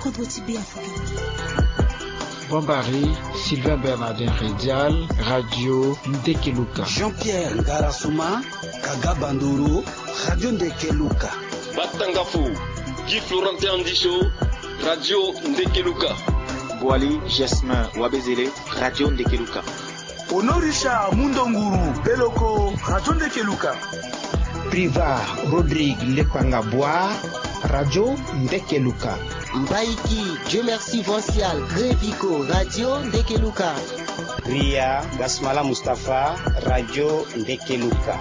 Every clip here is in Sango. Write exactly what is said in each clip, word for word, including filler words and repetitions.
Kodro ti Beafrika. Bombari, Sylvain Bernardin Redial, Radio Ndekeluka. Jean-Pierre Ngarasuma, Kaga Bandoro, Radio Ndekeluka. Batangafo, Guy Florentin Andicho, Radio Ndekeluka. Boali Jasmin Wabezele, Radio Ndekeluka. Honorisha Mundonguru Beloko, Radio Ndekeluka. Priva Rodrigue Lekpanga Bwa, Radio Ndekeluka. Mbaiki Dieu Merci Vancial Grevico, Radio Ndekeluka. Ria Gasmala Mustapha, Radio Ndekeluka.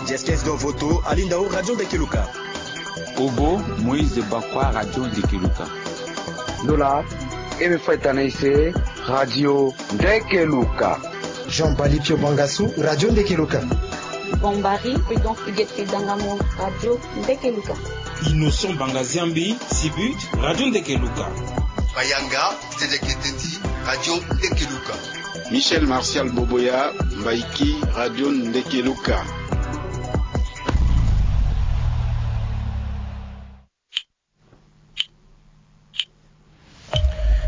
Jestes Dovoto Alindao, Radio Ndekeluka. Obo Moïse Bakwa, Radio Ndekeluka. Lola Eme Faitanaise, Radio Ndekeluka. Jean Bali Pio Bangasu, Radio Ndekeluka. Bombari Prudence Huguette Dangamo, Radio Ndekeluka. Innocent Bangaziambi Sibut, Radio Ndekeluka. Bayanga Tedeketeti, Radio Ndekeluka. Michel Martial Boboya, Mbaiki, Radio Ndekeluka.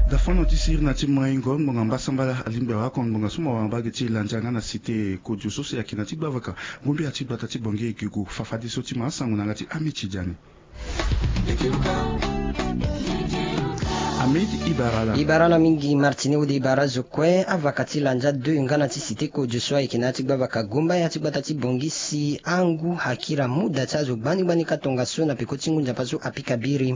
Dafano ti sirina ti maingo ngbonga mbasambala alingbi awa kon ngbonga so mo wara mbage ti landia nga na cité kodio so si ayeke na ti gbavaka. Ngombe ya ti gbata ti bongi e gi gu fafadeso ti ma asango na yanga ti Ami Tidiane. Amid Ibarala. Ibarala mingi Martini wode Ibara zo kue avaka ti landia deux nga na ti cité kodio so ayeke na ya ti gbavaka gomba ya ti gbata ti bongi si angu akira muda ti azo gbani gbani ka tongaso na peko ti ngu nzapa so apika biri.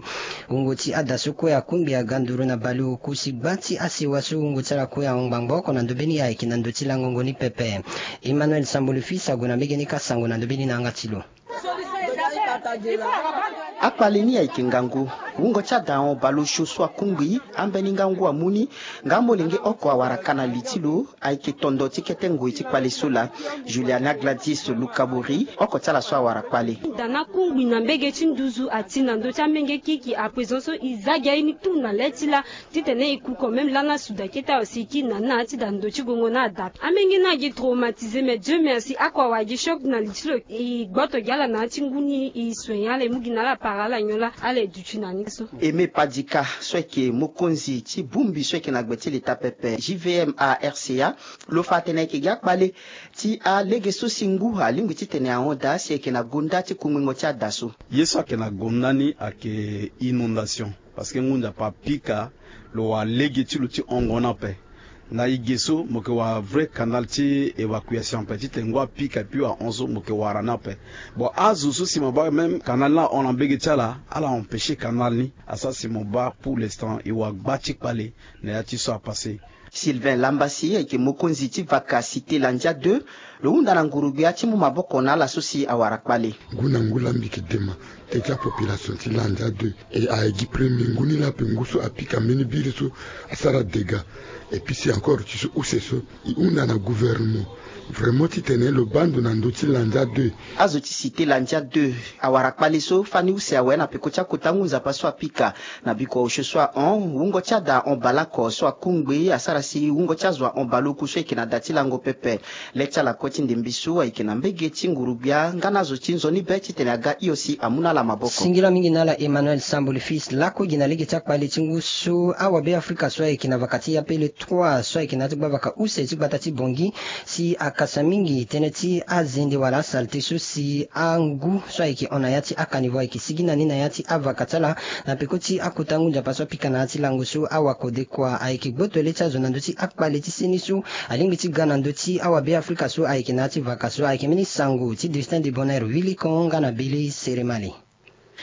Wungo ti ada so kue akungbi aga nduru na baleoku si gba ti asewa so wungo ti ala kue ahon ngbangbo oko na ndobeni ayeke na ndö ti langongo ni pepe. Emmanuel Sambolo Fils ague na mbege ni ka sango na ndobeni na yanga ti lo. Akpale ni ayeke ngangu. Wungo ti ada ahon baleosio so akungbi ambeni nga ngu amu ni. Nga molenge oko awara ka na li ti lo. Ayeke tondo ti kete ngoi ti kpale so laa. Juliana Gladys Lukabori oko ti ala so awara kpale. Da na kungbi na mbege ti nduzu ati na ndö ti amenge kiki à présent so e za gi aye ni tout na le ti laa. Titene e ku quand même lana suda kete awe si e kiri na na ti da ndo ti gongo ni ada ape. Amenge ni agi traumatisé mais Dieu merci oko awara gi choc na li ti lo e gboto gi ala na ya ti ngu ni e soigner ala e mu gi na ala para ala nyon laa ala e duti na ni so. Aimé Padika so ayeke mokonzi ti bongbi so ayeke na gbe ti leta pepe J V M A R C A. Lo fa atene ayeke gi akpale ti alege so si ngu alingbi titene ahon daa si ayeke na gonda ti kungbingo ti ada so. Ye so ayeke na gonda ni ayeke inondation. Parce que ngu nzapa apika lo wara lege ti lo ti hongo ni ape. Na e ge so mo yeke wara vrai canal ti évacuation ape titene ngu apika epui ahon so mo yeke wara ni ape. Bon azo so si mo baa même canal ni ahon na mbege ti ala ala empêcher canal ni asara si mo baa pour l'instant e wara gba ti kpale na ya ti so apasé. Sylvain Lambasi ayeke mokonzi ti vaka cité Landia deux. Lo hunda na nguru-gbia ti mu maboko na ala so si awara kpale. Ngu na ngu laa mbi yeke dema eke apopulation ti Landia deux. E ayeke gi premier ngu ni laa ape ngu so apika mbeni biri so asara dégâts. Et puis si encore ti so use so e hunda na gouvernement vraiment titene lo baa ndo na ndö ti Landia deux. Azo ti cité Landia deux awara kpale so fani use awe na peko ti akota ngu nzapa so apika. Na biko osio so ahon wungo ti ada ahon baleoko so akungbi asara si wungo ti azo ahon baleoku so ayeke na da ti lango pepe. Le ti ala kue ti ndembe so ayeke na mbege ti nguru-gbia nga na azo ti nzoni be titene aga hio si amu na ala maboko. Singila mingi na ala Emmanuel Samboli Fils lako gi na lege ti akpale ti ngu so awabe Afrika so ayeke na vaka ti Yapele trois so ayeke na ya ti gbavaka use ti gbata ti Bongi si akasa mingi tënë ti azende wala asalte so si angu so ayeke hon na ya ti akanivo ayeke sigi na ni na ya ti avaka ti ala. Na peko ti akota ngu nzapa so apika na ya ti lango so awakodekua ayeke gboto le ti azo na ndö ti akpale ti seni so alingbi ti ga na ndö ti awabe Afrika so ayeke na ya ti vaka so ayeke mbeni sango ti Destin de Bonheur Wilikon nga na Bili Seremale.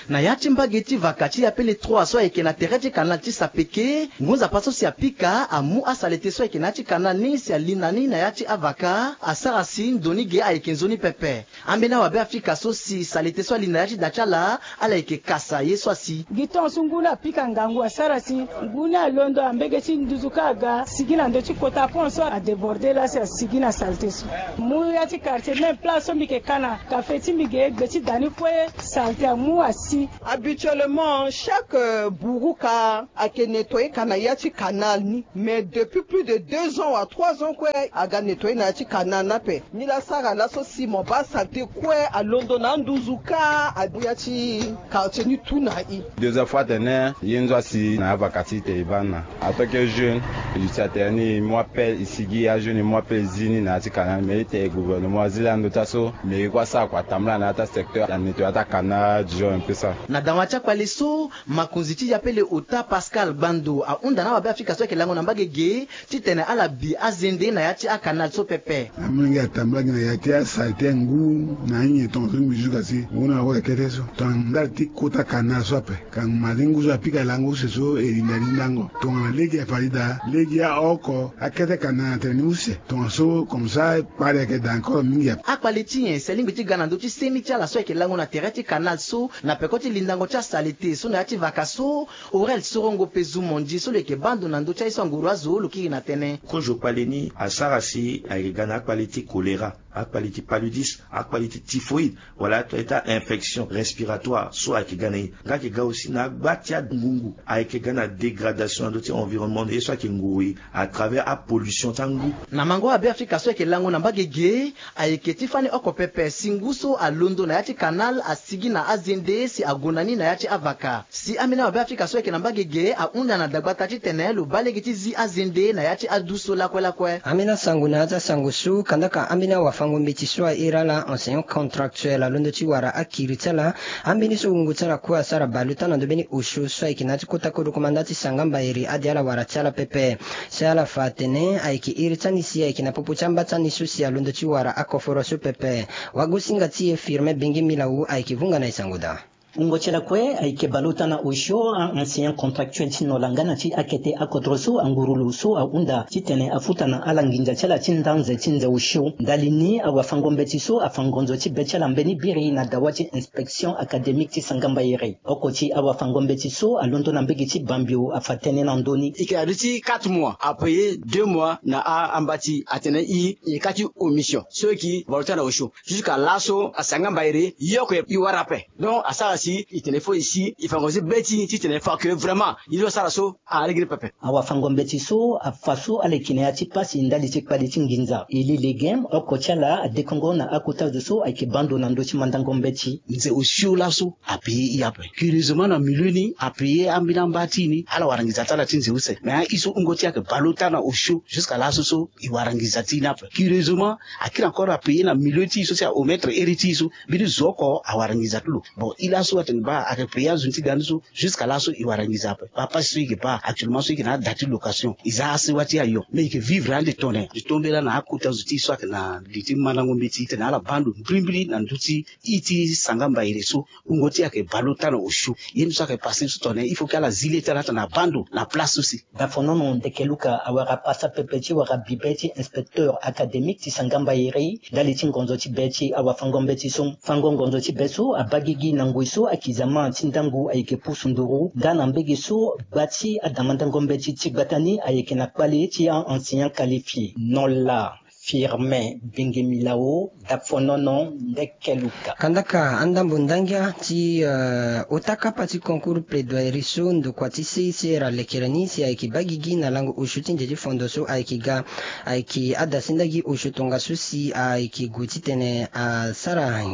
Na ya ti mbage ti vaka ti Yapele trois so ayeke na tere ti kanal ti Sapeke, ngu nzapa so si apika amu asalete so ayeke na ya ti kanal ni si ali na ni na ya ti avaka asara si ndo ni ge ayeke nzoni pepe. Ambeni awabe Afrika so si salete so ali na ya ti da ti ala ala yeke kasa ye so asi. Gi tongaso ngu ni apika ngangu asara si ngu ni alondo na mbege ti nduzu ka aga sigi na ndö ti kota pont so adébordé laa si asigi na salete so. Mu ya ti quartier même place so mbi yeke ka na kafe ti mbi ge gbe ti da ni kue salete amu asi. Si, habituellement chaque buruka ayeke nettoyer ka na ya ti canal ni, mais depuis plus de deux ans wa trois ans kue aga nettoyer na ya ti canal ni ape. Ni la asara laso si mo baa saleté kue alondo na anduzu kâ abi ya ti quartier ni tout na i. Deuxième fois atene ye nzo asi na avaka ti te e baa na en tant que jeune, e duti atene ni e mu appel e sigi ajeune e mu appel e zi ni na ya ti canal mais e te gouvernement azi laa ndo ti aso mais e kue asara kua atambula na ya ti asecteur anettoyer ya ti acanal du genre un peu ça. Na dawa ti akpale so, makonzi ti yapele ota Pascal Gbando ahunda na awabe afrika so ayeke lango na mbage ge titene ala bi azende na ya ti acanal so pepe. Amolenge atambula gi na ya ti asaleté ngu na anyen tongaso ngbi juka si ngu na wara kete so tongana ndali ti kota canal so ape. Ka ma ti ngu so apika lango use so e linda lindango tongana lege afarida lege aoko akete canal na tene ni use tongaso comme ça kpale ayeke daa encore mingi ape. Akpale ti nyen si alingbi ti ga na ndö ti seni ti ala so ayeke lango na tere ti canal so na peko ti lindango ti asaleté so na ya ti vaka so? Aurel Sorongo Pezu Mondi so lo yeke baa ndo na ndö ti aye so anguru azo lo kiri na tënë. Kozo kpale ni asara si ayeke ga na akpale ti choléra, akpale ti paludisme, akpale ti typhoïde, wala ato aye ti a-infection respiratoire so ayeke ga na e. Nga ayeke ga aussi na agba ti angungu ayeke ga na dégradation na ndö ti environnement na ye so ayeke nguru e à travers apollution ti angu. Na mango abe afrika so ayeke lango na mbage ge, ayeke ti fani oko pepe si ngu so alondo na ya ti canal asigi na azende si ague na ni na ya ti avaka. Si ambeni awabe afrika so ayeke na mbage ge ahunda na dagbata titene lo baa lege ti zi azende na ya ti adu so lakue lakue. Ambeni asango na ya ti asango so kandaka ambeni awafango-mbeti so airi ala enseignant contractuel alondo ti wara akiri ti ala. Ambeni so wungo ti ala kue asara baleota na ndo mbeni osio so ayeke na ya ti kota kodro komanda ti sanga mbairi ade ala wara ti ala pepe. Si ala fa atene ayeke iri ti ani si ayeke na popo ti amba ti ani so si alondo ti wara akoforo so pepe. Wagosinga ti e Firmin Benge Milawu ayeke vunga na e sango daa. Wungo ti ala kue ayeke baleota na osio a-enseignant contractuel ti nola nga na ti akete akodro so anguru lo so ahunda titene afuta na ala nginza ti ala ti nda nze ti nze osio. Ndali ni awafango-mbeti so afa ngonzo ti be ti ala mbeni biri na dawa ti inspection académique ti sanga mbairi. Oko ti awafango-mbeti so alondo na mbege ti Bambio afa tënë na ndö ni. E yeke na ndö ti quatre mois, apayer deux mois na a-amba ti atene i, i ka ti omission so e yeke baleota na osio. Jusqu'à laso asanga mbairi ye oko e wara ape. Donc asara si e tene fo e si e fa ngonzo ti be ti e titene e fa que vraiment ye so asara so alege ni pepe. Awafango-mbeti so afa so ala yeke na ya ti pasi ndali ti kpale ti nginza. E li lege oko ti ala adekongo na akota zo so ayeke baa ndo na ndö ti mandango mbeti. Nze osio laso apayer i ape. Curieusement na milieu ni apayer ambeni amba ti e ni ala wara nginza ti ala ti nze use. Mais aye so wungo ti e ayeke baleota na osio jusqu'à laso so e wara nginza ti e ni ape. Curieusement akiri encore apayer na milieu ti e so si aomettre iri ti e so mbeni zo oko awara nginza ti lo. Bon i laso atene baa ayeke payer azo ni ti ga ni so. Jusqu'à laso e wara nginza ape. Baa pasi so e yeke baa actuellement so e yeke na ada ti location e za asewa ti ayo. Mais e yeke vivre ande tongana e tombe laa na akota zo ti e so ayeke na li ti mandango mbeti titene ala baa ndo mbirimbiri na ndö ti i ti sanga mbairi so. Wungo ti e ayeke baleota na osio. Ye ni so ayeke passe so tongana il faut que ala zi le ti ala tongana abaa ndo na place so si. Dafonono ndeke luka awara pasa pepe ti wara bibe ti inspecteur académique ti sanga mbairi ndali ti ngonzo ti be ti awafango-mbeti so. Fango ngonzo ti be so abaa gigi na ngoi so akizama ti ndango ayeke pusu nduru nga na mbege so gba ti adamandango mbeti ti gbata ni ayeke na kpale ti a-enseignant qualifié. Nola Firmin Benge Milao, Dafonono ndeke luka. Kandaka andambo ndangia ti, eh, ota kapa ti concours plaidoirie so ndokua ti C I C R alekere ni si ayeke baa gigi na lango osio ti nze ti fondo so ayeke ga. Ayeke adasi ndagi osio tongaso si ayeke gue titene asara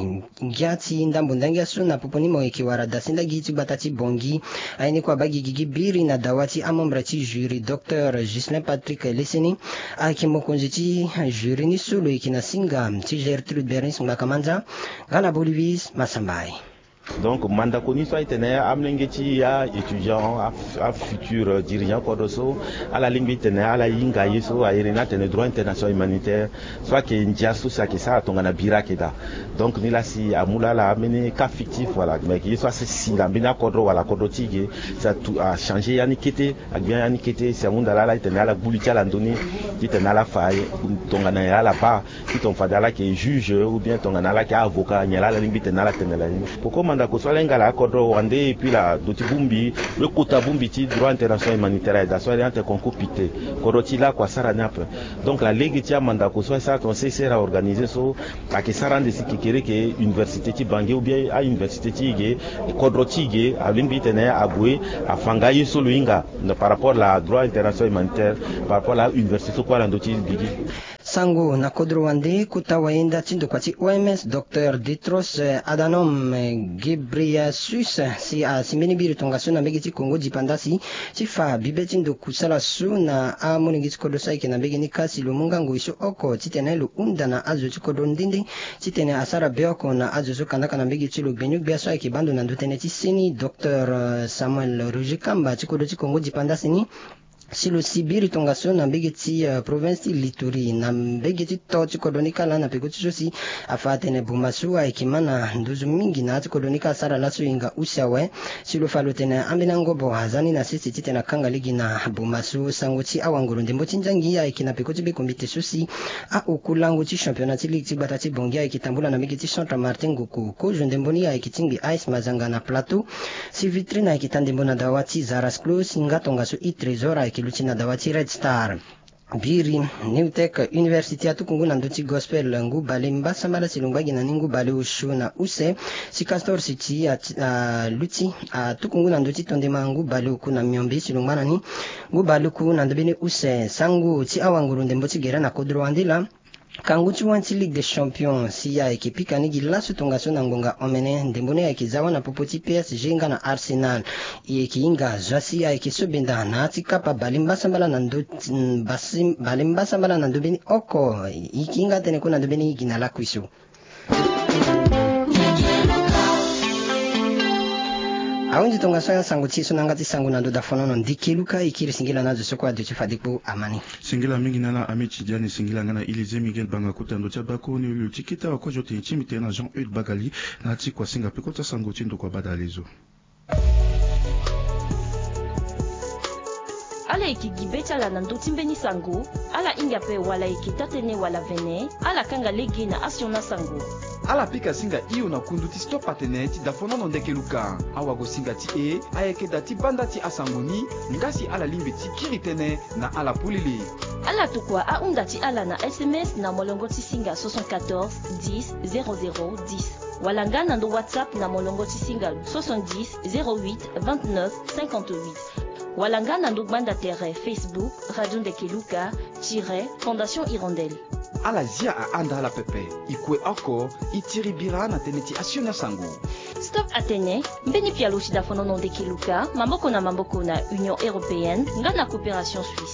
ngia ti ndambo ndangia so na popo ni mo yeke wara dasi ndagi ti gbata ti Bangui. Aye ni kue abaa gigi gi biri na dawa ti amembre ti jury, docteur Ghislain Patrick Leseni. Ayeke mokonzi ti jury ni so lo yeke na singa ti Gertrude Bernice Ngbakamanza. Nga na Bolivis Masambai. Donc mandako ni so aye tene amolenge ti aétudiant, afutur dirigeant kodro so, ala lingbi tene ala hinga ye so a iri ni atene droit international humanitaire. So ayeke ndia so si ayeke sara tongana biri ayeke daa. Donc ni laa si amu laa ala ambeni cas fictif, voilà, mais ayeke ye so asi si na mbeni akodro wala kodro ti e ge. Si atu achanger ya ni kete, agbi ya ni kete si ahunda laa ala titene ala gbu li ti ala ndoni, titene ala fa tongana nyen ala baa. Titene fade ala yeke juge ou bien tongana ala yeke avocat, nyen laa ala lingbi tene ala tene laa ye ni. Koko manda Mandako so ala hinga la akodro wande, et puis la ndo ti bongbi, lo kota bongbi ti droit international humanitaire aye daa so ala iri ante concours pite. Kodro ti lakue asara ni ape. Donc la lege ti amandako so asara ton C C R a organisé so, ayeke sara ande si kekereke université ti Bangui ou bien a université ti e ge, kodro ti e ge alingbi ti tene ague afa nga ye so lo hinga par rapport la droit international humanitaire, par rapport la université so kue ala ndo ti bigi. Sango na kodro wande, kota wayenda ti ndokua ti O M S, Docteur Tedros Adhanom Ghebreyesus, si asi mbeni biri tongaso na mbege ti Congo dipandasi ti fa bibe ti ndo kusala so na amolenge ti kodro so ayeke na mbege ni ka si lo mu nga ngoi so oko titene lo hunda na azo ti kodro nde nde titene asara be oko na azo so kandaka na mbege ti lo. Gbenu-gbia so ayeke baa ndo na ndo tënë ti seni, Docteur Samuel Roger Kamba ti kodro ti Congo dipandasi ni, si lo si biri tongaso na mbege ti, eh, province ti Ituri, na mbege ti to ti kodro ni ka laa na peko ti so si afa atene boma so ayeke ma na nduzu mingi na ya ti kodro ni ka asara laso e hinga use awe. Si lo fa lo tene ambeni angobo aza ni na sese titene akanga lege na boma so. Sango ti awanguru ndembo ti nzangi ayeke na peko ti be kombite so si aoku lango ti championnat ti ligue ti gbata ti Bangui ayeke tambula na mbege ti Centre Martin Ngoko. Kozo ndembo ni ayeke ti ngbi A S Mazanga na Plateau. Si Vitrine ayeke taa ndembo na dawa ti Zarasclo, si nga tongaso e Trésor ayeke luti na dawa ti Red Star. Biri New Tech University atuku ngu na ndö ti Gospel ngu bale mbasambala si lo ngba gi na ni ngu bale osio na use. Si Castor City ati- aluti atuku ngu na ndö ti tondema ngu bale oku na miombe si lo ngba na ni ngu bale oku na ndö mbeni use. Sango ti awanguru ndembo ti gere na kodro wande laa. Kangu ti wani ti Ligue des Champions si ayeke pika ni gi laso tongaso na ngonga omene. Ndembo ni ayeke za wâ na popo ti P S G nga na Arsenal. E yeke hinga zo asi ayeke so benda na ya ti kapa bale mbasambala na ndö ti- mm, basi- bale mbasambala na ndö mbeni oko. E yeke hinga atënë kue na ndö mbeni gi na lakui so. Ahunzi tongaso ya sango ti e so na yanga ti sango na ndo dafonono ndeke luka e kiri singila na azo so kue aduti fade kpo ama ni. Singila mingi na ala Ami Tidiane, singila nga na Élysée Miguel Banga kota ndo ti abako ni lo ti kete awa kue zo tene ti mbi tene na Jean Eudes Bagali na ya ti kua singa peko ti asango ti ndokua badalezo. Ala yeke gi be ti ala na ndö ti mbeni sango, ala hinga ape wala yeke taa-tënë wala vene, ala kanga lege na asioni asango. Ala pika singa hio na kundu ti Stop Atene ti dafonono ndeke luka. Awagosinga ti e ayeke da ti banda ti asango ni, nga si ala lingbi ti kiri tënë na ala polele. Ala tokua ahunda ti ala na S M S na molongo ti singa soixante-quatorze dix zéro zéro dix, wala nga na ndo WhatsApp na molongo ti singa soixante-dix zéro huit vingt-neuf cinquante-huit, wala nga na ndo gbanda tere Facebook Radio Ndeke Luka tiret Fondation Hirondelle. Ala zia ahanda ala pepe. E kue oko, e tiri bira na tënë ti asioni asango. Stop Atene, mbeni pialo ti dafonono ndeke luka, maboko na maboko na Union Européenne nga na Coopération Suisse.